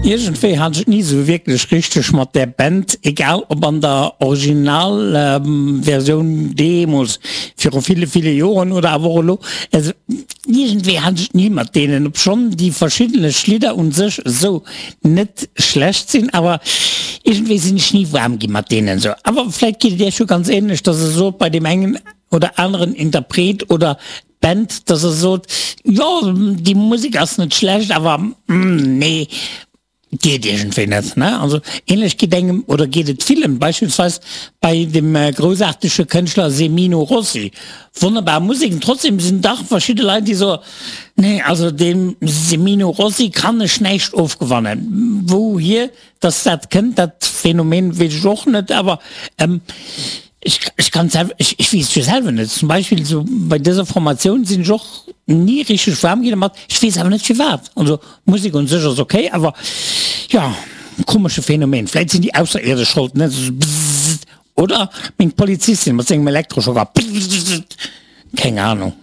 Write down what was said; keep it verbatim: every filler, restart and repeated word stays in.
Iergendwéi hat ech et ni sou wierklech richteg mat där Band, egal ob an der Originalversioun deemools viru ville, ville Joren oder awer och elo. Also iergendwéi hat ech et ni mat deenen, obschonn déi verschiddenlech Lidder un sech esou net schlecht sinn, awer iergendwéi sinn ech ni waarm gi mat deenen esou. Awer vläit geet et iech jo ganz ähnlech, dass der sot bei deem engen oder aneren Interpret oder Band, dass der sot, jo déi Musek ass net schlecht, awer nee, geet iergendwéi net. Ne? Also ähnlech geet engem oder geet et villen, beispillsweis bei dem groussaartege Kënschtler Semino Rossi. Wonnerbar Musek, an trotzdem sinn dach verschidde Leit déi soen, nee also dem Semino Rossi kann ech näischt ofgewannen. Wouhier dass dat kënnt, dat Phänomen weess ech och net, awer ech ech kann selwer ech ech weess et jo selwer net. Zum Beispill esou bei dëser Formatioun sinn ech och ni richteg waarm ginn dermat, ech weess awer net firwat. Also d'Musek un sech ass ok, awer jo, komesche Phänomen. Vläit sinn déi Ausserierdesch schold, ne, esou bzzzt, oder meng Polizistin mat sengem Elektroschocker, bzzzt, keng Ahnung.